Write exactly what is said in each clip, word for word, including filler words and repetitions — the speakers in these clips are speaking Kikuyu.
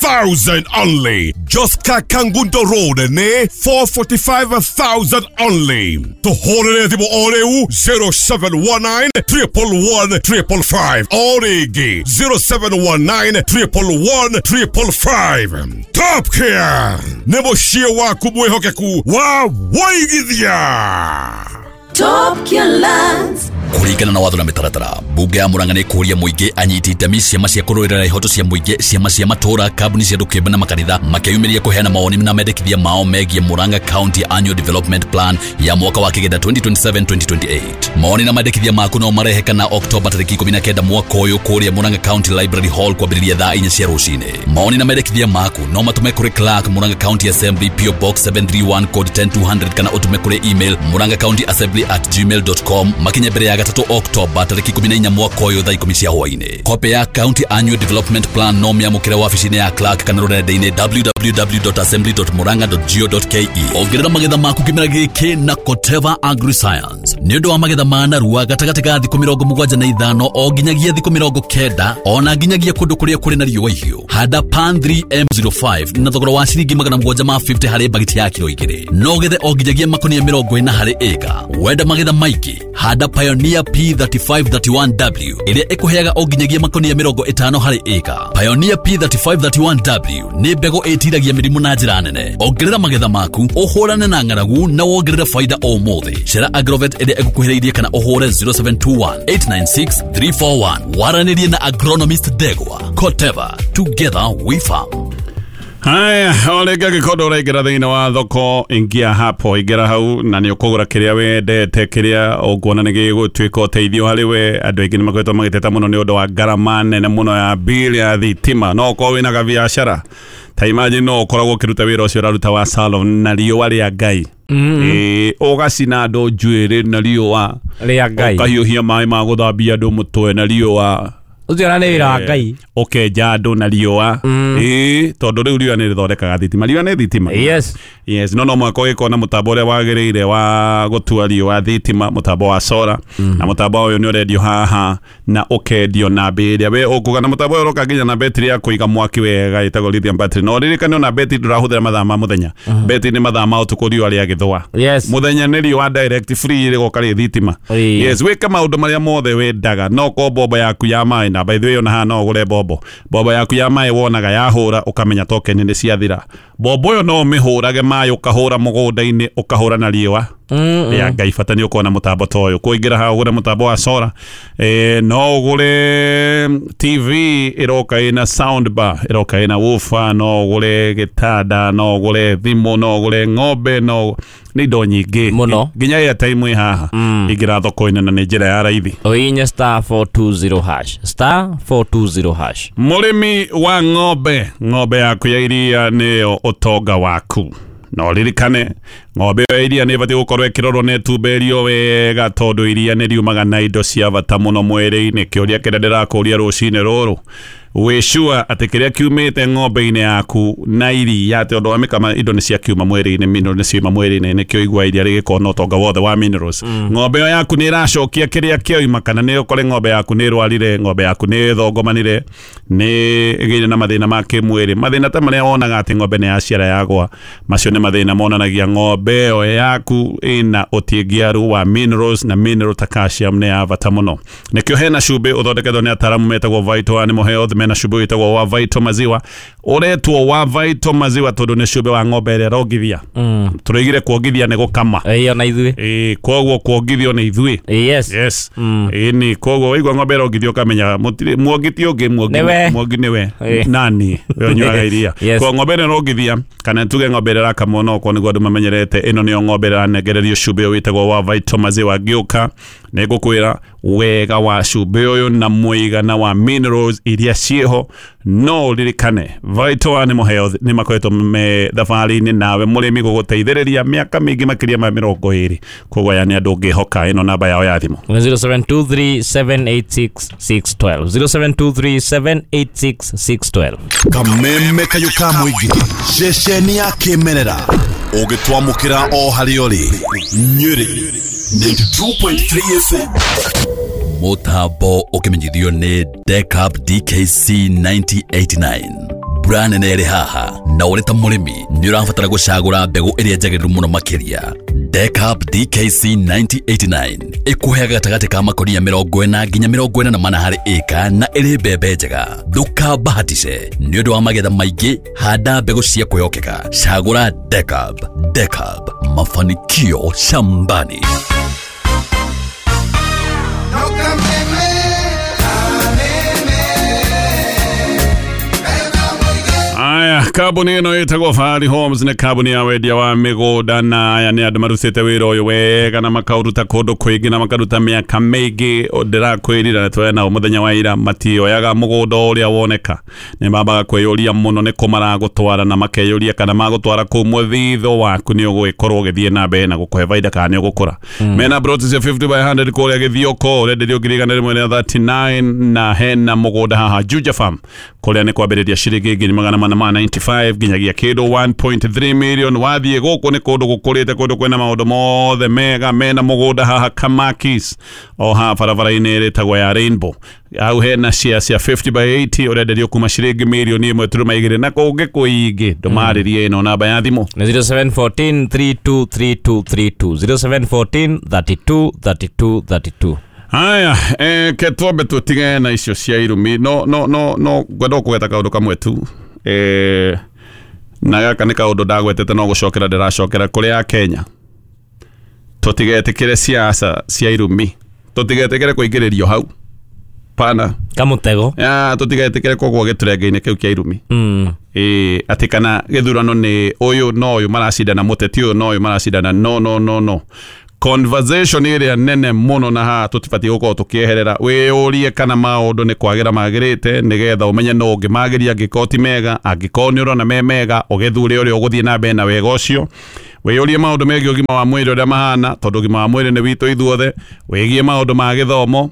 thousand only. Joska Kangundo Road ne four forty-five thousand only. Tuhorere thimu o rĩu zero seven one nine triple one triple five. O rĩngĩ zero seven one nine triple one triple five. Top Care nĩ mũciĩ waku mwĩhokeku wa waigithia. Top Care Lands. Kũringana na watho na mĩtaratara, mbunge ya Murang'a nĩ kũũria mũingĩ, anyiti itemi, ciama cia kũrũĩrĩra ihoto cia mũingĩ, ciama cia matũũra, kambuni cia andũ kĩũmbe na makanitha makeyumĩria kũheana mawoni na mendekithia mao megiĩ Murang'a County Annual Development Plan ya mwaka wa kĩgenda twenty twenty-seven twenty twenty-eight. Mawoni na mendekithia maku no marehe kana Oktoba tarĩki ikũmi na kenda mwaka ũyũ kũrĩa Murang'a County Library Hall kwambĩrĩria thaa inya cia rũcinĩ. Mawoni na mendekithia maku no matũme kũrĩ Clerk, Murang'a County Assembly, P O Box seven three one code ten two hundred kana ũtũme kũrĩ email murang'a county assembly at gmail dot com makinye mbere ya gatatũ Oktoba tarĩki ikũmi na inya mwaka ũyũ thaa ikũmi cia hwaĩ-inĩ. Kopi ya County Annual Development Plan no mĩamũkĩre wabici-inĩ ya Clerk kana rũrenda-inĩ w w w dot assembly dot murang'a dot go dot k e. Ongerera magetha maku kĩmera gĩkĩ na Koteva AgriScience nĩ ũndũ wa magetha ma narua gatagatĩ ga thikũ mĩrongo mũgwanja na ithano o nginyagia thikũ mĩrongo kenda ona nginyagia kũndũ kũrĩa kũrĩ na riũa ihiũ. Handa Pan three M zero five na thogora wa ciringi magana mũgwanja ma fifty harĩ bagiti ya kiro igĩrĩ. No gethe o nginyagia makonia mĩrongo ĩna harĩ ĩka. Wenda magetha maingĩ, handa Pioneer P thirty-five thirty-one W ĩrĩa ĩkũheaga o nginyagia makonia mĩrongo ĩtano harĩ ĩka. Pioneer P thirty-five thirty-one W nĩ mbegũ ĩtiragia mĩrimũ na njĩra nene. Ongerera magetha maku, ũhũrane na ng'aragu na wongerere faida o ũmũthĩ. Cera Agrovet ĩrĩa ĩgũkuhĩrĩirie kana ũhũre zero seven two one eight nine six three four one. Waranĩrie na agronomist Ndegwa. Koteva, together we farm. Haya, ole gagikondo ũraingĩra thĩinĩ wa thoko, ingia hapo, ingĩra hau na nĩ ũkũgũra kĩrĩa wendete, kĩrĩa ũkuona nĩ gĩgũtuĩka ũteithio harĩ we. Andũ aingĩ nĩ makoretwo magĩteta mũno nĩ ũndũ wa ngarama nene mũno ya bill ya thitima. No ũkorwo wĩna gabiacara ta imagine no ũkoragwo ũkĩruta wĩra ũcio ũraruta wa salon na riũa rĩa Ngai. Ĩĩ, ũgacina andũ njuĩrĩ na riũa rĩa Ngai, ũkahiũhia maĩ ma gũthambia andũ mũtwe na riũa ũcio na nĩ wĩra wa Ngai, ũkenja andũ na riũa. Ĩĩ, tondũ rĩu riũa nĩ rĩthondekaga thitima, riũa nĩ thitima. Yes. Yes, no no mũhaka ũgĩkorwo na mũtambo ũrĩa wagĩrĩire wa gũtua riũa thitima, mũtambo wa solar, na mũtambo ũyũ nĩ ũrendio haha na ũkendio na mbei ĩrĩa we ũkuga, na mũtambo ũyũ ũroka nginya na betri ya kũiga mwaki wega ĩtagwo lithium battery. No ririkane ona betri ndũrahũthĩra mathaa ma mũthenya, betri nĩ mathaa ma ũtukũ riũa rĩagĩthũa. Yes. Mũthenya nĩ riũa direct free rĩgoka rĩ thitima. Yes, wĩke maũndũ marĩa mothe wendaga, no ũkorwo bomba yaku ya maĩ, na by the way ona haha no ũgũre bombo. Bomba yaku ya maĩ wonaga yahũra ũkamenya token nĩ ciathira. Bombo ĩyo no ũmĩhũrage maĩ, ũkahũra mũgũnda-inĩ, ũkahũra na riũa rĩa Ngai. Bata nĩ ũkorwo na mũtambo ta ũyũ. Kũingĩra haha ũgũre mũtambo wa solar, eh, no ũgũre T V ĩroka ĩna sound bar, ĩroka ĩna woofer, no ũgũre gĩtanda, no ũgũre thimũ, no ũgũre ng'ombe, no nĩ indo nyingĩ mũno, nginya airtime ĩ haha. Ingĩra thoko-inĩ na nĩ njĩra ya raithi. Ũhihinye star four two zero hash, star four two zero hash. Mũrĩmi wa ng'ombe, ng'ombe yaku ya iria nĩyo ũtonga waku. No ririkane ng'ombe ya iria nĩ ĩbatiĩ gũkorwo ĩkĩrorwo na ĩtumberio wega, tondũ iria nĩ riumaga na indo cia bata mũno mwĩrĩ-inĩ. Kĩũria kĩrĩa ndĩrakũria rũcinĩ rũrũ, wĩ sure atĩ kĩrĩa kiumĩte ng'ombe-inĩ yaku na iria, atĩ ũndũ wa mĩkama indo nĩ ciakiuma mwĩrĩ-inĩ, mineral nĩ ciauma mwĩrĩ-inĩ, nĩkĩo igua iria rĩgĩkorwo na ũtonga wothe wa minerals. Ng'ombe ĩyo yaku nĩ ĩracokia kĩrĩa kĩoima, kana nĩ ũkore ng'ombe yaku nĩ ĩrwarire, ng'ombe yaku nĩ ĩthongomanire, nĩ ĩgĩire na mathĩna ma kĩmwĩrĩ, mathĩna ta marĩa wonaga atĩ ng'ombe nĩ yaciara yagwa, macio nĩ mathĩna monanagia ng'ombe ĩyo yaku ĩna ũtingiaru wa minerals, na mineral ta calcium nĩ ya bata mũno. Nĩkĩo hena cumbĩ ũthondeketwo nĩ ataaramu metagwo Vital Animal Health, mena cumbĩ wĩtagwo wa Vital Maziwa, ũretwo wa Vital Maziwa tondũ nĩ cumbĩ wa ng'ombe ĩrĩa ĩrongithia. Tũroigire kuongithia nĩ gũkama. Ĩĩ, ona ithuĩ. Ĩĩ, koguo kuongithio nĩ ithuĩ. Yes. Yes. Ĩĩ, nĩ koguo waigua ng'ombe ĩrongithio ũkamenya mũtirĩ muongi ti ũngĩ, muongi muongi nĩwe nani we ũnyuaga iria. Koguo ng'ombe ĩno ĩrongithia, kana tuge ng'ombe ĩrĩa ĩrakamwo no okorwo nĩguo andũ mamenyerete, ĩno nĩyo ng'ombe ĩrĩa ĩranengererio cumbĩ ũyũ wĩtagwo wa Vital Maziwa. Ngĩũka nĩ ngũkwĩra wega wa cumbĩ ũyũ na mũigana wa minerals iria ciĩho. No ũririkane Vital Animal Health nĩ makoretwo me thabarĩ-inĩ nawe mũrĩmi gũgũteithĩrĩria mĩaka mĩingĩ makĩria ma mĩrongo ĩrĩ. Koguo aya nĩ andũ ũngĩhoka. Ĩno namba yao ya thimũ zero seven two three seven eight six six one two, zero seven two three seven eight six six one two. Kameme kayũ ka mũingĩ, ceceni ya kĩmerera, ũgĩtwamũkĩra o harĩa ũrĩ. Nyĩrĩ ninety-two point three F M. Mũtambo ũkĩmenyithio nĩ Decap D K C ninety eighty-nine. Mbura nene ĩrĩ haha na ũrĩ ta mũrĩmi nĩ ũrabatara gũcagũra mbegũ ĩrĩa njagĩrĩru mũno makĩria. Decap D K C nineteen eighty-nine ĩkũheaga gatagatĩ ka makonia mĩrongo ĩna nginya mĩrongo ĩna na mana harĩ ĩka na ĩrĩ mbembe njega. Ndũkabahatishe nĩ ũndũ wa magetha maingĩ, handa mbegũ cia kwĩhokeka. Cagũra Decap. Decap, mafanikio shambani. Aya, kambuni ĩno ĩtagwo Fahari Homes nĩ kambuni ya wendia wa mĩgũnda na aya nĩ andũ marutĩte wĩra ũyũ wega na makaũruta kũndũ kũingĩ na makaruta mĩaka mĩingĩ. Ndĩrakwĩrira nĩ nao mũthenya wa ira matioyaga mũgũnda ũrĩa woneka, nĩ mambaga kwĩyũria mũno nĩ kũ maragũtwara na makeyũria kana magũtwara kũu mũthitho waku nĩ ũgũgĩkorwo ũgĩthiĩ na mbere na gũkũhe baida kana nĩ ũgũkũra. Mena plot cia fifty by hundred kũrĩa Gĩthioko ũrenderio ngiri igana rĩmwe rĩa thirty-nine na hena mũgũnda haha Juja Farm kũrĩa nĩ kwambĩrĩria ciringi ngiri magana mana ma ninety-five nginyagia kĩndũ one point three million. Wathiĩ gũkũ nĩ kũndũ gũkũrĩte, kũndũ kwĩna maũndũ mothe mega, mena mũgũnda haha Kamakis o haha barabara-inĩ ĩtagwo ya Rainbow. Hau hena share cia fifty by eighty ũrenderio kuma ciringi mirioni ĩmwe turuma igĩrĩ na kũngĩ kũingĩ. Ndũmarĩrie ĩno namba ya thimũ nĩ zero seven four three two three two three two, zero seven four three two three two three two. Haya, eh, ke twambe tũtige na icio cia irumi. No no no no ngwenda kũgweta kaũndũ kamwe tu. Eh, na gaka nĩ kaũndũ ndagwetete no gũcokera ndĩracokera kũrĩ a Kenya. Tũtigetĩkĩre siasa cia irumi, tũtigetĩkĩre kũingĩrĩrio hau pana kamũtego, ya tũtigetĩkĩre kũgwa gĩturenge-inĩ kĩu kĩa irumi. Mm. Eh, atĩ kana gĩthurano nĩ ũyũ no ũyũ maracindana, mũteti ũyũ no ũyũ maracindana. No no no no conversation ĩrĩa nene mũno na haha tũtibatiĩ gũkorwo tũkĩeherera. Wĩyũrie kana maũndũ nĩ kwagĩra magĩrĩte nĩgetha ũmenye no ũngĩmagĩria angĩkorwo ti mega, angĩkorwo nĩ ũrona me mega ũgĩthure ũrĩa ũgũthiĩ na mbere na wega ũcio. Wĩyũrie maũndũ megiĩ ũgima wa mwĩrĩ ũrĩa mahana, tondũ ũgima wa mwĩrĩ nĩ witũ ithuothe. Wĩgie maũndũ ma gĩthomo,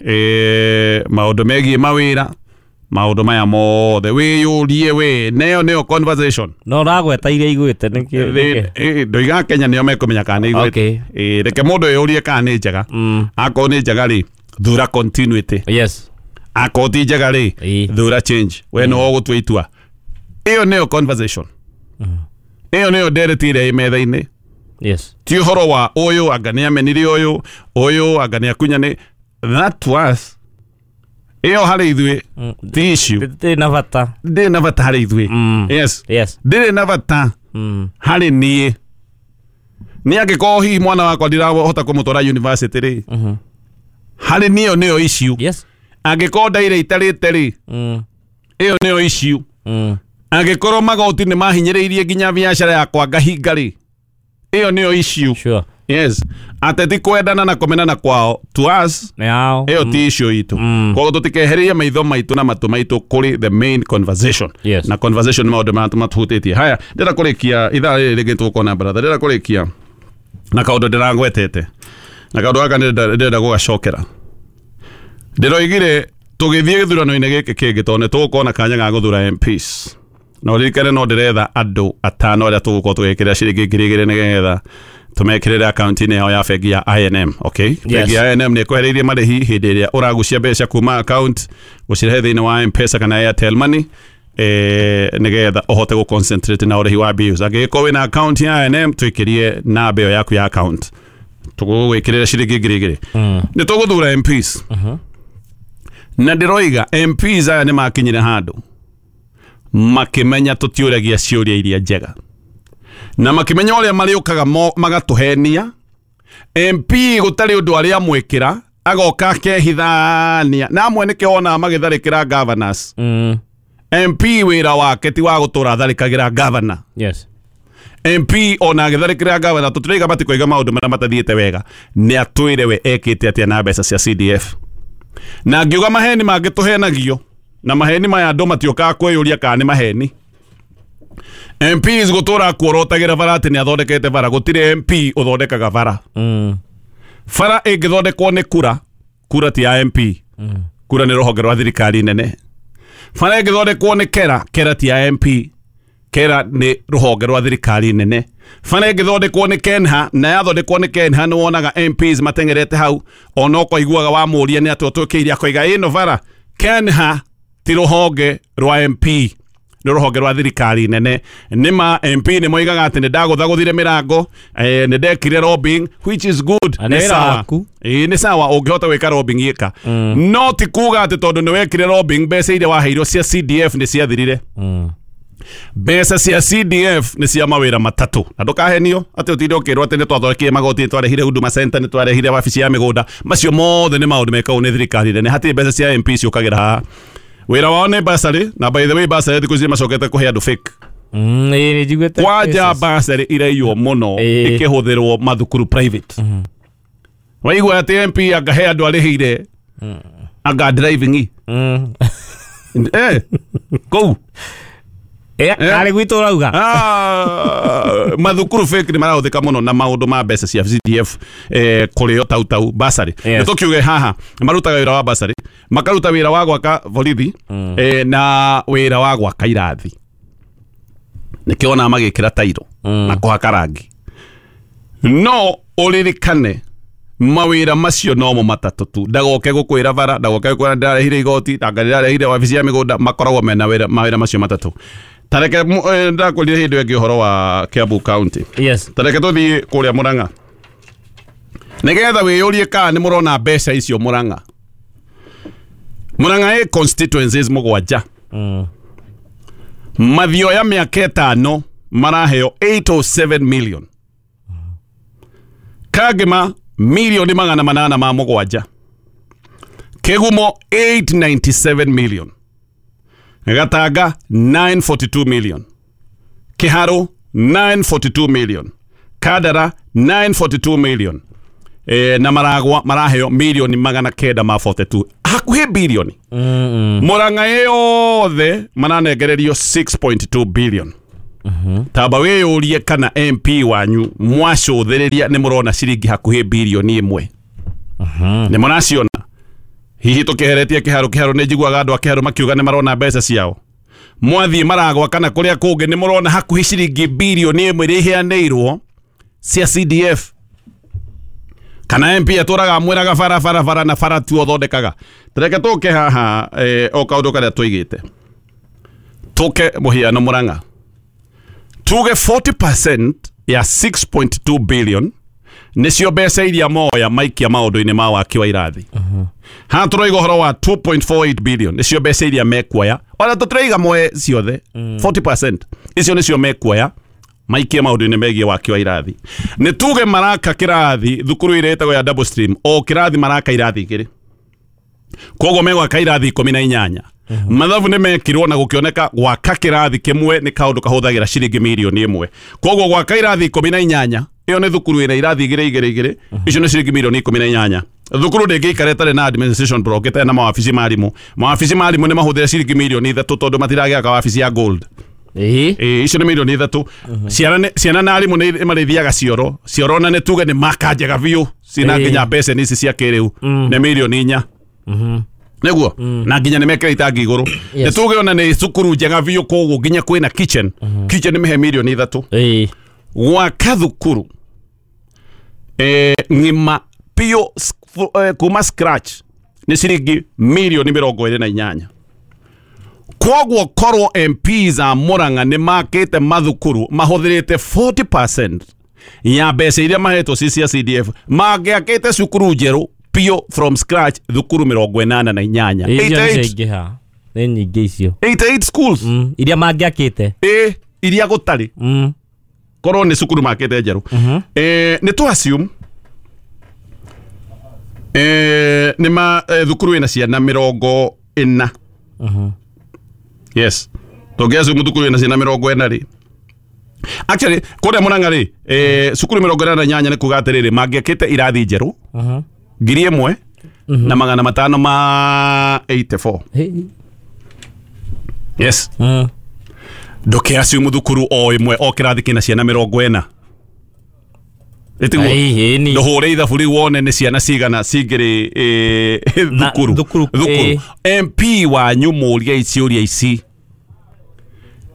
eh, maũndũ megiĩ mawĩra, maũndũ maya mothe wĩyũrie we. Neyo nĩyo conversation. No ũragweta iria igwĩte nĩkĩ? Ndoiga Kenya nĩo mekũmenya kana nĩ igwĩte. Reke mũndũ eyũrie kana nĩ njega. Akorwo nĩ njega rĩ, thura continuity. Yes. Akorwo ti njega rĩ, thura change. We nĩwe ũgũtua itua. Ĩyo nĩyo conversation. Ĩyo nĩyo ndereti ĩrĩa ĩ metha-inĩ. Yes. Ti ũhoro wa ũyũ anga nĩ amenire ũyũ, ũyũ anga nĩ akunyane. That was ĩyo harĩ ithuĩ ti issue. Ndĩrĩ na bata. Ndĩrĩ na bata harĩ ithuĩ. Yes. Yes. Ndĩrĩ na bata harĩ niĩ. Nĩ angĩkorwo hihi mwana wakwa ndirahota kũmũtwara university rĩ, harĩ niĩ ĩyo nĩyo issue. Yes. Angĩkorwo ndaire itarĩte rĩ, ĩyo nĩyo issue. Angĩkorwo magoti nĩ mahinyĩrĩirie nginya biacara yakwa ngahinga rĩ, ĩyo nĩyo issue. Sure. Yes. Ateti kwendana na kũmenana kwao to us ĩyo ti issue itũ. Koguo tũtikehererie maitho maitũ na matũ maitũ kũrĩ the main conversation. Yes. Na conversation maũndũ marĩa matũhutĩtie. Haya, ndĩrenda kũrĩkia ithaa rĩrĩ rĩngĩ tũgũkorwo brother. Ndĩrenda kũrĩkia na kaũndũ ndĩragwetete na kaũndũ gaka ndĩrenda gũgacokera. Ndĩroigire tũgĩthiĩ gĩthurano-inĩ gĩkĩ kĩngĩ tondũ nĩ tũgũkorwo na kanya ga gũthura M Ps. Na ũririkane no ndĩretha andũ atano arĩa tũgũkorwo tũgĩkĩra ciringi ngiri igĩrĩ nĩgetha tumekirire akaunti-inĩ yao ya bengi ya I N M. Okay, bengi ya I N M nĩ ĩkwehereirie marĩhi hĩndĩ ĩrĩa ũragucia mbeca kuma account gũcirehe thĩinĩ wa M-Pesa kana Airtel Money, eh, nĩgetha ũhote gũ concentrate na ũrĩhi wa bills. Angĩgĩkorwo wĩna account ya I N M twĩkĩrie namba ĩyo yaku ya account, tũgũgwĩkĩrĩra ciringi ngiri igĩrĩ. Nĩ tũgũthura M Ps. Na ndĩroiga M Ps aya nĩ makinyire handũ makĩmenya tũtiũragia ciũria iria njega na makĩmenya ũrĩa marĩũkaga magatũhenia. M P gũtarĩ ũndũ arĩa amwĩkĩra agoka akehithania na amwe nĩkĩo wonaga magĩtharĩkĩra governors. Mm. M P wĩra wake ti wa gũtũra atharĩkagĩra governor. Yes. M P ona agĩtharĩkĩra governor tũtiraiga matikoiga maũndũ marĩa matathiĩte wega, nĩ atwĩre we ekĩte atĩa na mbeca cia C D F. Na ngiuga maheni mangĩtũhenagio na maheni maya andũ matiũkaga kwĩyũria kana nĩ maheni. M Ps gũtũra kuorotagĩra bara atĩ nĩ athondekete bara, gũtirĩ M P ũthondekaga bara. Mm. Bara ĩngĩthondekwo nĩ kura, kura ti ya M P. Mm. Kura nĩ rũhonge rwa thirikari nene. Bara ĩngĩthondekwo nĩ kera, kera ti ya M P. Kera nĩ rũhonge rwa thirikari nene. Bara ĩngĩthondekwo nĩ Kenha, na yathondekwo nĩ Kenha nĩ wonaga M Ps mateng'erete hau, ona ũkoiguaga wamũria nĩ atĩa ũtwĩkĩire akoiga ĩno bara. Kenha ti rũhonge rwa M P, nĩ rũhonge rwa thirikari nene. Nĩ ma M P nĩ moigaga atĩ nĩ ndagũthagũthire mĩrango, eh, nĩ ndekire lobbying, which is good. Nĩ wĩra waku. Ĩĩ nĩ sawa ũngĩhota gwĩka lobbying ĩka. No ti kuga atĩ tondũ nĩ wekire lobbying mbeca iria waheirwo cia C D F nĩ ciathirire. Mbeca cia C D F nĩ cia mawĩra matatũ. Na ndũkahenio atĩ ũtinde ũkĩrwo atĩ nĩ twathondekire magoti, nĩ twarehire Huduma Center, nĩ twarehire wabici ya mĩgũnda. Macio mothe nĩ maũndũ mekagwo nĩ thirikari nene. Hatirĩ mbeca cia M P ciũkagĩra haha. Wĩra wao nĩ bursary, na by the way bursary thikũ ici macokete kũhe andũ fake. Mm, ĩĩ nĩ Kwanja bursary iraiywo mũno ĩkĩhũthĩrwo mathukuru private. Waigua atĩ M P angahe andũ arĩhĩire anga driving. Mm. Eh, kũu. Eh, arĩ gwitũ ũrauga. Ah, mathukuru fake nĩ marahũthĩka mũno na maũndũ ma mbeca cia C D F, eh, kũrĩo tau tau bursary. Yes. Nĩ tũkiuge haha marutaga wĩra wa bursary, makaruta wĩra wa gwaka borithi, eh, na wĩra wa gwaka irathi. Nĩkĩo ona magĩkĩra tairo na kũhaka rangi. No ũririkane mawĩra macio nomo matatũ tu. Ndagoke gũkwĩra bara, ndagoke gũkwĩra ndĩrarehire igoti, ndĩrarehire wabici ya mĩgũnda, makoragwo mena wĩra mawĩra macio matatũ. Tareke ndakwĩrire hĩndĩ ĩngĩ ũhoro wa Kiambu County. Yes. Tareke tũthiĩ kũrĩa Murang'a. Nĩgetha wĩyũrie kana nĩ mũrona mbeca icio Murang'a. Murang'a ĩ constituencies mũgwanja. Mm. Mathioya mĩaka ĩtano maraheo eight oh seven million. Kagema milioni magana manana ma mũgwanja. Kĩgumo eight ninety-seven million. Gatanga nine forty-two million. Kiharu nine forty-two million. Kadara nine forty-two million. Eh, na Maragwa maraheo milioni magana kenda ma forty-two. Hakuhĩ bilioni. Mm. Murang'a yothe maranengererio six point two billion. Mm-hmm. Tamba wĩyũrie kana M P wanyu mwacũthĩrĩria nĩ mũrona ciringi hakuhĩ bilioni ĩmwe. Mm-hmm. Nĩ mũraciona. Hihi tũkĩheretie Kĩharũ, Kĩharũ nĩ njiguaga andũ a Kĩharũ makiuga nĩ marona mbeca ciao. Mwathiĩ Maragwa kana kũrĩa kũngĩ nĩ mũrona hakuhĩ ciringi bilioni ĩmwe iria iheanĩirwo cia C D F. Kana M P atũraga amwĩraga bara bara bara na bara tu ũthondekaga. Tareke tũke haha eh, o kaũndũ karĩa tũigĩte. Tũke mũhiano Murang'a. Tuge forty percent ya six point two billion nĩcio mbeca iria moya maikia maũndũ-inĩ ma waki wa irathi. Haha tũroiga ũhoro wa two point four eight billion nĩcio mbeca iria mekuoya. Ona tũtiraiga moe ciothe, forty percent icio nĩcio mekuoya maikie maũndũ-inĩ megiĩ waki wa irathi. Nĩ tuge maraka kĩrathi thukuru ĩrĩa ĩtagwo ya double stream, o kĩrathi maraka irathi igĩrĩ. Koguo megwaka irathi ikũmi na inyanya. Mathabu nĩ mekirwo na gũkĩoneka gwaka kĩrathi kĩmwe nĩ kaũndũ kahũthagĩra ciringi mirioni ĩmwe. Koguo gwaka irathi ikũmi na inyanya, ĩyo nĩ thukuru ĩna irathi igĩrĩ igĩrĩ igĩrĩ, icio nĩ ciringi mirioni ikũmi na inyanya. Thukuru ndĩngĩikara ĩtarĩ na administration block, ĩtarĩ na mawabici ma arimũ. Mawabici ma arimũ nĩ mahũthĩra ciringi mirioni ithatũ tondũ matiragĩaka wabici ya gold. Ĩĩ. Ĩĩ, icio nĩ mirioni ithatũ. Ciana ciana na arimũ nĩ marĩthiaga cioro. Cioro na nĩ tuge nĩ maka njega biũ, ciĩna nginya mbeca ici cia kĩrĩu, nĩ mirioni inya. Nĩguo na nginya nĩ mekĩra itangi igũrũ. Nĩ tuge ona nĩ cukuru njega biũ koguo nginya kwĩna kitchen. Kitchen nĩ mĩhe mirioni ithatũ. Ĩĩ. Gwaka thukuru eh, ng'ima biũ kuma scratch nĩ ciringi mirioni mĩrongo ĩrĩ na inyanya. Koguo korwo M Ps a Murang'a nĩ makĩte mathukuru mahũthĩrĩte forty percent ya mbeca iria mahetwo ci cia C D F, mangĩakĩte cukuru njerũ biũ from scratch thukuru mĩrongo ĩnana na inyanya. Icio nĩ ciaingĩha. Nĩ nyingĩ icio. eighty-eight schools. Mm, iria mangĩakĩte. Ĩ, iria gũtarĩ. Mm. Korwo nĩ cukuru makĩte njerũ. Eh, nĩ tũ assume eh, nĩ ma eh, thukuru ĩna ciana mĩrongo ĩna. Yes. Tũngĩ assume thukuru ĩna ciana mĩrongo ĩna rĩ. Actually, kũrĩa Murang'a rĩ, eh, cukuru mĩrongo ĩnana na inyanya nĩ kuga atĩrĩrĩ, mangĩakĩte irathi njerũ ngiri ĩmwe na magana matano ma eighty-four. Yes. Mm. Ndũke assume thukuru o ĩmwe o kĩrathi kĩna ciana mĩrongo ĩna. Ĩtiguo. Ndũhũre ithabu rĩu wone nĩ ciana cigana cingĩrĩ thukuru. Thukuru. M P wanyu mũrie ciũria ici.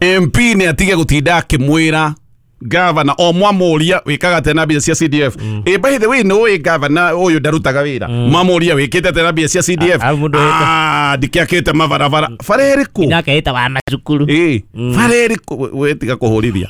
M P nĩ atige gũtinda akĩmwĩra Gavana o mwamuria wikaga tena mbia cia C D F. E by the way no we gavana uyu ndarutaga wira. Mwamuria wikite tena mbia cia C D F. Ah ndikiakite mabarabara. Bara iriku? Ndakaita wa macukuru. Eh bara iriku we tiga kuhurithia.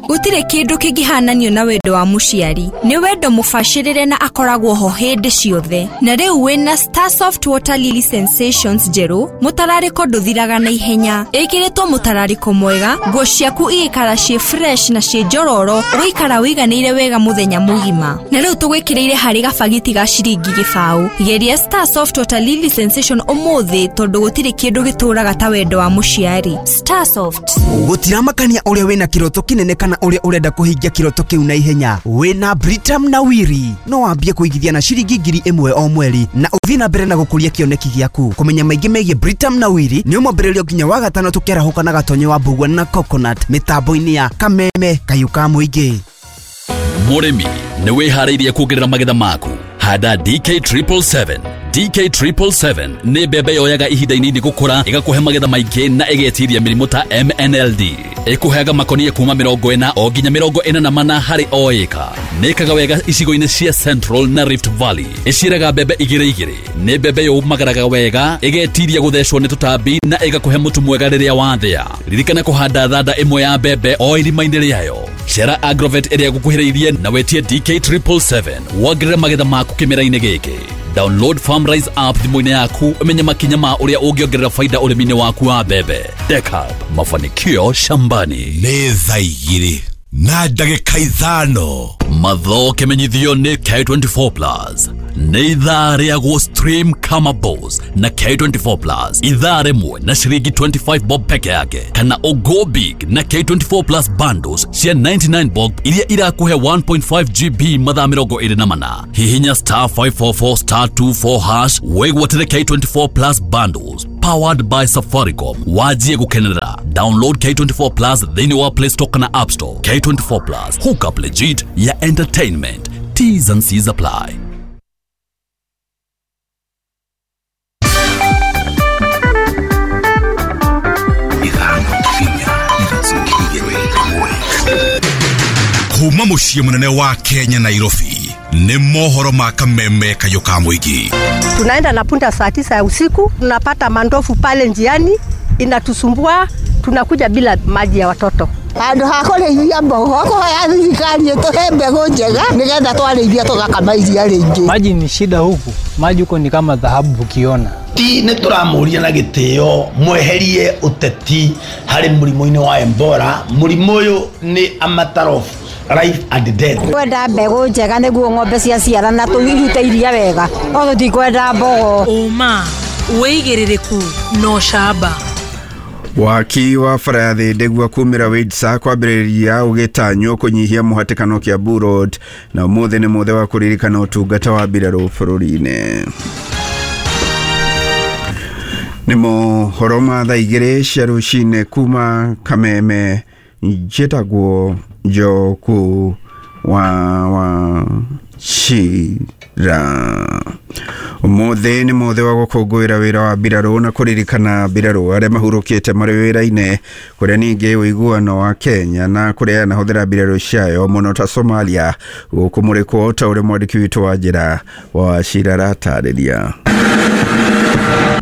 Gutire kindu kingihananio na wendo wa muciari. Ni wendo mubacirire na akoragwo ho hindi ciothe. Na riu wina Starsoft Water Lily Sensations njeru, mutarariko nduthiraga na ihenya. Ikiritwo mutarariko mwega, nguo ciaku igikara ciĩ fresh na ciĩ njororo, ugaikara wiganĩire wega muthenya mugima. Na riu tugwikiriire hari gabagiti ga ciringi gibau. Geria Starsoft Water Lily Sensation umuthi tondu gutire kindu gituraga ta wendo wa muciari. Starsoft. Gutiramakania uria wina kiroto kinene kana uria urenda kuhingia kiroto kiu na ihenya. Wina Britam na Wiri no wambie kuigithia na ciringi ngiri imwe o mweri na uthie na mbere na gukuria kioneki giaku. Kumenya maingi megie Britam na Wiri ni umwambĩrĩrio nginya wa gatano tukiarahũka na gatonyo wa mbugua na coconut mitambo-inĩ ya Kameme Kayũ ka Mũingĩ. Mũrĩmi nĩ wĩharĩirie kuongerera magetha maku. Handa D K triple seven. D K triple seven nĩ mbembe yoyaga ihinda inini gũkũra, ĩgakũhe magetha maingĩ na ĩgetiria mĩrimũ ta M N L D. Ĩkũheaga makonia kuma mĩrongo ĩna o nginya mĩrongo ĩna na mana harĩ o ĩka. Nĩ ĩkaga wega icigo-inĩ cia Central na Rift Valley. Ĩciaraga mbembe igĩrĩ igĩrĩ. Nĩ mbembe yũmagaraga wega, ĩgetiria gũthecwo nĩ tũtambi na ĩgakũhe mũtu mwega rĩrĩa wathĩa. Ririkana kũhanda thanda ĩmwe ya mbembe o irima-inĩ rĩayo. Cera Agrovet ĩrĩa gũkuhĩrĩirie na wetie D K triple seven wongerere magetha maku kĩmera-inĩ gĩkĩ. Download FarmRise app thimũ-inĩ yaku ũmenye makinya ma ũrĩa ũngĩongerera faida ũrĩmi-inĩ waku wa mbembe. Dekab, mafanikio shambani. Nĩ thaa igĩrĩ na ndagĩka ithano. Matho kĩmenyithio nĩ K twenty-four plus. Nĩ ithaa rĩa gũ stream kama boss na K twenty-four plus. Ithaa rĩmwe na ciringi twenty-five bob peke yake kana o go big na K twenty-four plus bundles cia ninety-nine bob iria irakuhe one point five G B mathaa mĩrongo ĩrĩ na mana. Hihinya star five four four star two four hash wĩgwatĩre K twenty-four plus bundles powered by Safaricom. Wajie gukenera. Download K twenty-four plus thĩinĩ wa Play Store kana App Store. K twenty-four plus, hook up legit ya entertainment. T's and C's apply. Kuma muciĩ mũnene wa Kenya Nairobi nĩ mohoro ma Kameme Kayũ ka Mũingĩ. Tunaenda na punda saa tisa ya usiku, tunapata mandofu pale njiani inatusumbua, tunakuja bila maji ya watoto. Handũ ha kũrĩithia mbogo kũhoya thirikari ĩtũhe mbegũ njega nĩgetha twarĩithia tũgakama iria rĩingĩ. Maji ni shida huku, maji huko ni kama dhahabu ukiona. Ti nĩ tũramũria na gĩtĩo mweherie ũteti harĩ mũrimũ-inĩ wa Ebola. Mũrimũ ũyũ nĩ a matter of life and death. Kwenda mbegũ njega nĩguo ng'ombe ciaciarana tũrute iria wega, no tũtikwenda mbogo. Ũma wĩigĩrĩrĩku no camba. Waki wa bara ya Thĩndĩgua kumĩra Windsor kwambĩrĩria ũgĩtanywo kũnyihia mũhatĩkano Kiambu Road na ũmũthĩ nĩ mũthĩ wa kũririkana ũtungata wa mbirarũ bũrũri-inĩ. Nĩ mohoro ma thaa igĩrĩ cia rũcinĩ kuma Kameme, njĩtagwo Njoku wa wa Chira. Ũmũthĩ nĩ mũthĩ wa gũkũngũĩra wĩra wa mbirarũ na kũririkana mbirarũ arĩa mahurũkĩte marĩ wĩra-inĩ, kũrĩa ningĩ ũiguano wa Kenya na kũrĩa yanahũthĩra mbirarũ ciayo mũno ta Somalia gũkũmũrĩkwo ta ũrĩa mwandĩki witũ wa njĩra wa Wachira aratarĩria.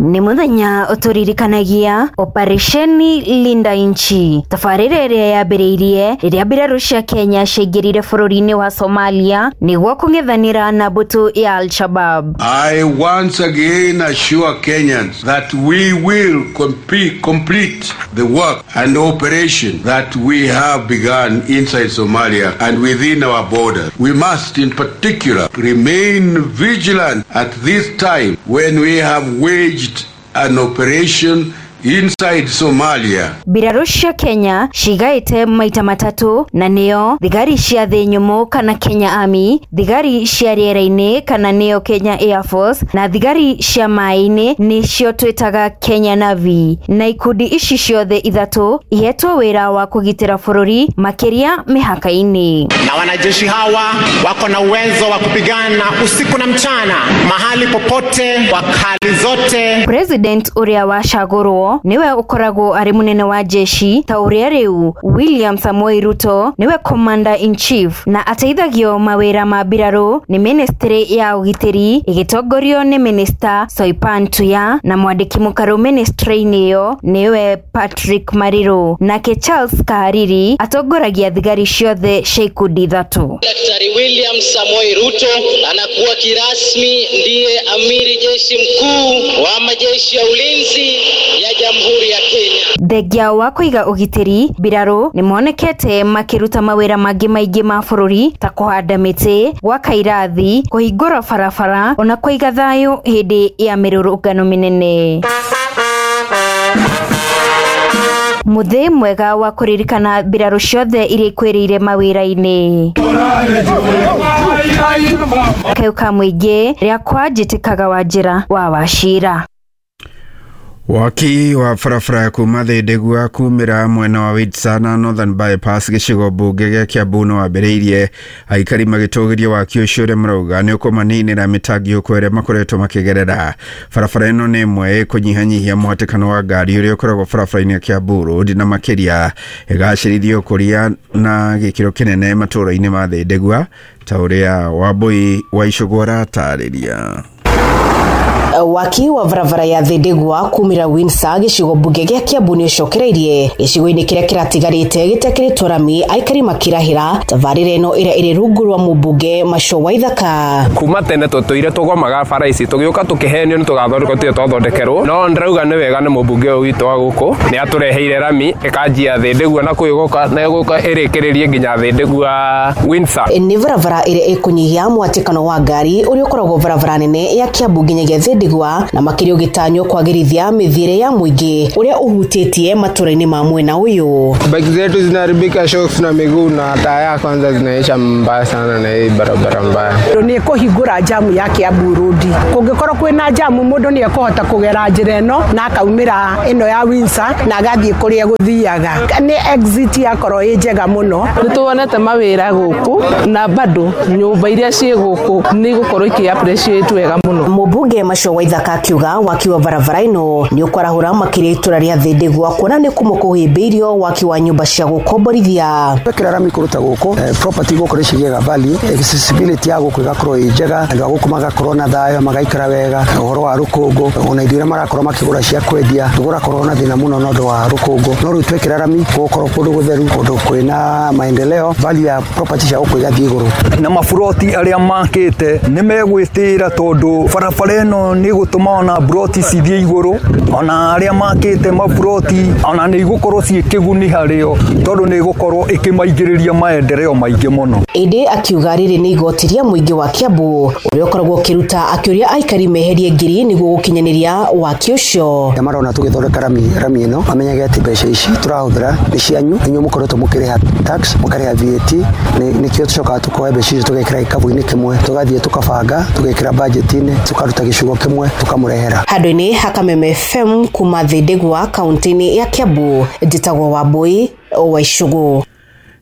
Nĩ mũthenya ũtũririkanagia Operesheni Linda Nchi, tabarĩra ĩrĩa yambĩrĩirie rĩrĩa mbirarũ cia Kenya ciaingĩrire bũrũri-inĩ wa Somalia nĩguo kũng'ethanĩra na mbũtũ ya Al-Shabaab. I once again assure Kenyans that we will complete, complete the work and operation that we have begun inside Somalia and within our borders. We must in particular remain vigilant at this time when we have waged an operation inside Somalia. Mbirarũ cia Kenya cigaĩte maita matatũ na nĩo thigari cia thĩ nyũmũ kana Kenya Army, thigari cia rĩera-inĩ kana nĩo Kenya Air Force na thigari cia maĩ-inĩ nĩcio twĩtaga Kenya Navy. Na ikundi ici ciothe ithatũ ihetwo wĩra wa kũgitĩra bũrũri makĩria mĩhaka-inĩ. Na wanajeshi hawa wako na uwezo wa kupigana usiku na mchana, mahali popote, kwa hali zote. President ũrĩa wacagũrwo niwe ũkoragwo arĩ mũnene wa jeshi ta ũrĩa rĩu William Samoei Ruto niwe commander in chief na ateithagio mawĩra ma mbirarũ nĩ ministry ya ũgitĩri ĩgĩtongorio nĩ minister Soipan Tuya na mwandĩki mũkarũ ministry-inĩ ĩyo niwe Patrick Mariru, nake Charles Kahariri atongoragia thigari ciothe cia ikundi ithatũ. Daktari William Samoei Ruto anakuwa kirasmi ndiye amiri jeshi mkuu wa majeshi ya ulinzi ya Jamhuri ya Kenya. Thengia wa kũiga ũgitĩri, mbirarũ nĩmonekete makĩruta mawĩra mangĩ maingĩ ma bũrũri ta kũhanda mĩtĩ, gwaka irathi, kũhingũra barabara ona kũiga thayũ hĩndĩ ya mĩrũrũngano mĩnene. Mũthĩ mwega wa kũririkana mbirarũ ciothe iria ikwĩrĩire mawĩra-inĩ. Kayũ ka mũingĩ rĩakwa njĩtĩkaga Wanjĩra wa Wachira. Waki wa barabara kuma Thĩndĩgua kumĩra mwena wa Witsa na Northern Bypass gĩcigo mbunge gĩa Kiambu no wambĩrĩirie aikari magĩtũgĩria waki ũcio ũrĩa marauga nĩ ũkũmaninĩra mĩtangĩko ĩrĩa makoretwo makĩgerera. Barabara ĩno nĩ ĩmwe ĩkũnyihanyihia mũhatĩkano wa ngari ũrĩa ũkoragwo barabara-inĩ ya Kiambu Road na makĩria ĩgacĩrithia ũkũria na gĩkĩro kĩnene matũũra-inĩ ma Thĩndĩgua ta ũrĩa Wambui wa Icũgũ aratarĩria. Waki wa barabara ya Thĩndĩgua kumĩra Windsor gĩcigo mbunge gĩa Kiambu nĩ ũcokereirie gĩcigo-inĩ kĩrĩa kĩratigarĩte gĩtekĩrĩtwo rami aikari makĩrahĩra tabarĩra ĩno ĩrĩa ĩrĩ rungu rwa mũmbunge Macho Waithaka. Kuma tene tũtũire tũgomaga bara ici tũgĩũka tũkĩhenio nĩ tũgathondekwo tũtirĩ twathondekerwo, no ndĩrauga nĩ wega nĩ mũmbunge ũyũ witũ wa gũkũ nĩ atũreheire rami ĩkanjia Thĩndĩgua na kũu na ĩgũka ĩrĩkĩrĩrie nginya Thĩndĩgua Windsor. Nĩ barabara ĩrĩa ĩkũnyihia mũhatĩkano wa ngari ũrĩa ũkoragwo barabara nene ya Kiambu nginyagia Thĩndĩgua na makĩria ũgĩtanywo kwagĩrithia mĩthiĩre ya mũingĩ ũrĩa ũhutĩtie matũra-inĩ ma mwena ũyũ. Bike zetu zinaharibika shocks na miguu na taya kwanza zinaisha mbaya sana na hii barabara mbaya. Nĩ kũhingũra jamu ya Kiambu Road. Kũngĩkorwo kwĩna jamu mũndũ nĩ ekũhota kũgera njĩra ĩno na akaumĩra ĩno ya Windsor na agathiĩ kũrĩa gũthiaga. Nĩ exit yakorwo ĩ njega mũno. Nĩ tuonete mawĩra gũkũ na bado nyũmba iria ciĩ gũkũ nĩ igũkorwo ikĩ appreciate wega mũno. Mũmbunge Macho Waithaka akiuga waki wa barabara ĩno nĩ ũkwarahũra makĩria itũra rĩa Thĩndĩgua kuona nĩ kũmwe kũhĩmbĩirio waki wa nyũmba cia gũkomborithia. Twekĩra rami kũruta gũkũ property gũkũ nĩ cigĩaga value, accessibility ya gũkũ ĩgakorwo ĩ njega, andũ a gũkũ magakorwo na thayũ magaikara wega, ũhoro wa rũkũngũ ona indo iria marakorwo makĩgũra cia kwendia tũgũrakorwo na thĩna mũno na ũndũ wa rũkũngũ, no rĩu twekĩra rami gũgũkorwo kũndũ gũtheru, kũndũ kwĩna maendeleo, value ya property cia gũkũ igathiĩ igũrũ. Na maburoti arĩa makĩte nĩ megwĩtĩra tondũ barabara ĩno nĩ gũtũma ona broti cithiĩ igũrũ, ona arĩa makĩte maburoti ona nĩ igũkorwo ciĩ kĩguni harĩo tondũ nĩ igũkorwo ĩkĩmaingĩrĩria maendeleo maingĩ mũno. Ĩndĩ akiuga rĩrĩ nĩ igoti rĩa mũingĩ wa Kiambu ũrĩa ũkoragwo ũkĩruta akĩũria aikari meherie ngiri nĩguo gũkinyanĩria waki ũcio. Marona tũgĩthondeka rami rami ĩno mamenyage atĩ mbeca ici tũrahũthĩra nĩ cianyu, inyuĩ mũkoretwo mũkĩrĩha tax mũkarĩha V A T, nĩkĩo tũcokaga tũkoya mbeca icio tũgekĩra gĩkabũ-inĩ kĩmwe tũgathiĩ tũkabanga tũgekĩra budget-inĩ tũkaruta gĩcigo kĩmwe tũkamũrehera. Handũ-inĩ ha Kameme F M kuma Thĩndĩgua kaunti-inĩ ya Kiambu njĩtagwo Wambui wa Icũgũ.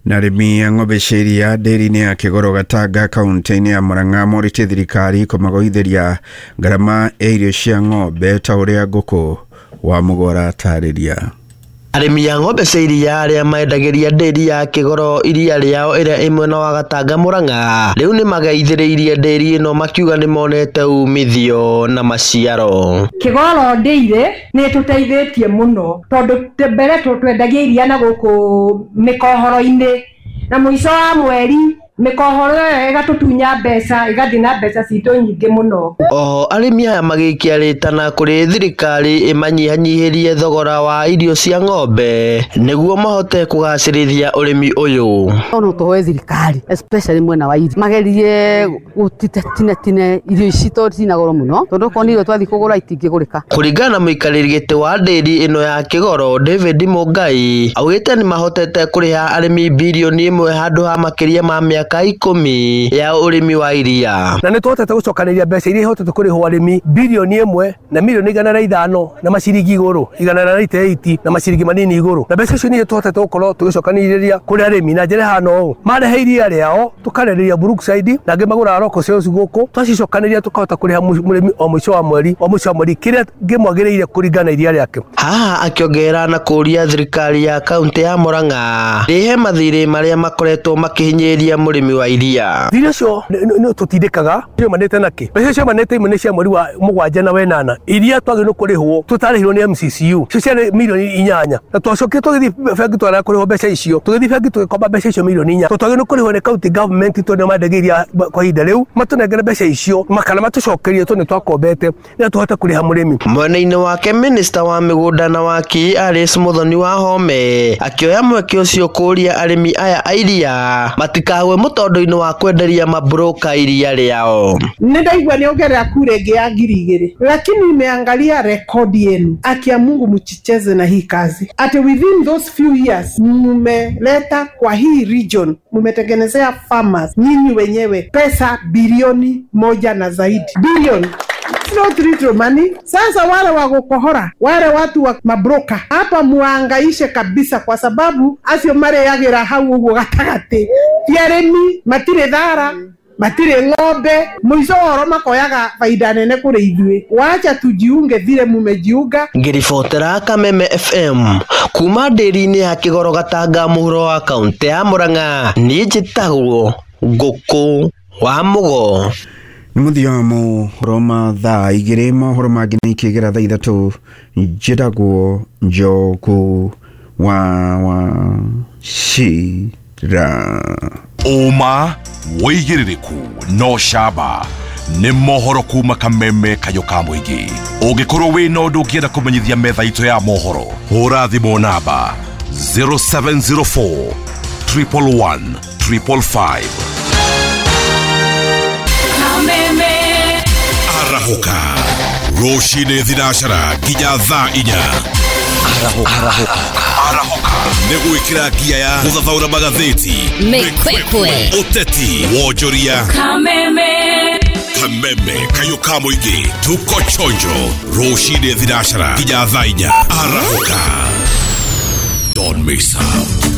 Na arĩmi a ng'ombe cia iria ndĩri-inĩ ya Kĩgoro Gatanga kaunti-inĩ ya Murang'a morĩtie thirikari kũmagoithĩria ngarama ya irio cia ng'ombe ta ũrĩa Ngũkũ wa Mũgora atarĩria. Arĩmi a ng'ombe cia iria arĩa maendagĩria ndĩri ya Kĩgoro iria rĩao ĩrĩa ĩ mwena wa Gatanga Murang'a rĩu nĩmageithĩrĩirie ndĩri ĩno makiuga nĩmonete umithio na maciaro. Kĩgoro ndĩire nĩ ĩtũteithĩtie mũno tondũ mbere twendagia iria na gũkũ mĩkohoro-inĩ na mũico wa mweri Mĩkohoro ĩyo ĩgatũtunya mbeca, ĩgathiĩ na mbeca citũ nyingĩ mũno. Oho arĩmi aya magĩikia rĩtana kũrĩ thirikari ĩmanyihanyihĩrie thogora wa irio cia ng'ombe nĩguo mahote kũgacĩrithia ũrĩmi ũyũ. No tũhoe thirikari especially mwena wa irio magerie gũtinatine irio ici tondũ cina goro mũno, tondũ okorwo nĩ irio twathiĩ kũgũra itingĩgũrĩka. Kũringana na mũikarĩri gĩtĩ wa ndĩri ĩno ya Kĩgoro David Mũngai augĩte nĩ mahotete kũrĩha arĩmi birioni ĩmwe handũ ha makĩria ma mĩaka ikũmi ya ũrĩmi wa iria. Na nĩ tũhotete gũcokanĩrĩria mbeca iria ihotete kũrĩhwo arĩmi birioni ĩmwe na milioni igana rĩa ithano na maciringi igũrũ igana rĩa ninety-eight na maciringi manini igũrũ, na mbeca icio nĩ tũhotete gũkorwo tũgĩcokanĩrĩria kũrĩ arĩmi na njĩra ĩhana ũũ: marehe iria rĩao tũkarĩrĩria Brookside na angĩ magũraga local sales gũkũ, twacicokanĩrĩria tũkahota kũrĩha mũrĩmi o mũico wa mweri o mũico wa mweri kĩrĩa kĩmwagĩrĩire kũringana na iria rĩake. Haha akĩongerera na kũũria thirikari ya kaunti ya Murang'a rĩhe mathirĩ marĩa makoretwo makĩhinyĩrĩria mũrĩmi wa iria. Thirĩ ũcio nĩ tũtindĩkaga ciumanĩte nakĩ? Mbeca ciumanĩte imwe nĩ cia mweri wa mũgwanja na wenana iria twagĩrĩirwo kũrĩhwo tũtarĩhirwo nĩ M C C U, icio ciarĩ milioni inyanya, na twacokire tũgĩthiĩ bengi twarega kũrĩhwo mbeca icio, tũgĩthiĩ bengi tũgĩkomba mbeca icio milioni inya, tondũ twagĩrĩirwo kũrĩhwo nĩ county government tondũ nĩo mandagĩria kwa ihinda rĩu matũnengere mbeca icio kana matũcokerie tondũ nĩtwakombete nĩgetha tũhote kũrĩha mũrĩmi. Mwena-inĩ wake minista wa mĩgũnda na waki Alice Muthoni wa Home akĩoya mweke ũcio kũũria arĩmi aya a iria matikagwe mũtondo-inĩ wa kwenderia mabroka iria rĩao. Nĩ ndaigua nĩ ongerera kura ĩngĩ ya ngiri igĩrĩ, lakini nimeangalia rekodi yenu, akia Mungu mchicheze na hii kazi. Ati within those few years mumeleta kwa hii region, mumetengenezea farmers nyinyi wenyewe pesa bilioni moja na zaidi. Bilioni. It's not little money. Sasa wale wa gukohora, wale watu wa mabroka hapa muangaishe kabisa, kwa sababu acio mareagira hau uguo gatagati ti arĩmi, matirĩ thara, matirĩ ng'ombe, mũico woro makoyaga faida nene kũrĩ ithuĩ. Wacha tujiunge vile mumejiunga. Ngĩribotera Kameme F M kuma ndĩri-inĩ ya Kĩgoro Gatanga mũhuro wa kaunti ya Murang'a, niĩ njĩtagwo Ngũkũ wa Mũgo. Nĩ mũthia wa mohoro ma thaa igĩrĩ, mohoro mangĩ nĩ ikĩgera thaa ithatũ. Njĩtagwo Njoku wa Wachira. Ũma wĩigĩrĩrĩku no camba nĩ mohoro kuma Kameme kayũ ka mũingĩ. Ũngĩkorwo wĩna ũndũ ũngĩenda kũmenyithia metha itũ ya mohoro, hũra thimũ namba zero seven zero four triple one triple five. Arahũka rũcinĩ thinacara nginya thaa inya. Arahũka Arahũka nĩ gwĩkĩra ngia ya gũthathaũra magathĩti, mĩkwekwe, ũteti, wonjoria. Kameme Kameme kayũ ka mũingĩ, tuko chonjo rũcinĩ thinacara nginya thaa inya. Arahũka, don't miss out.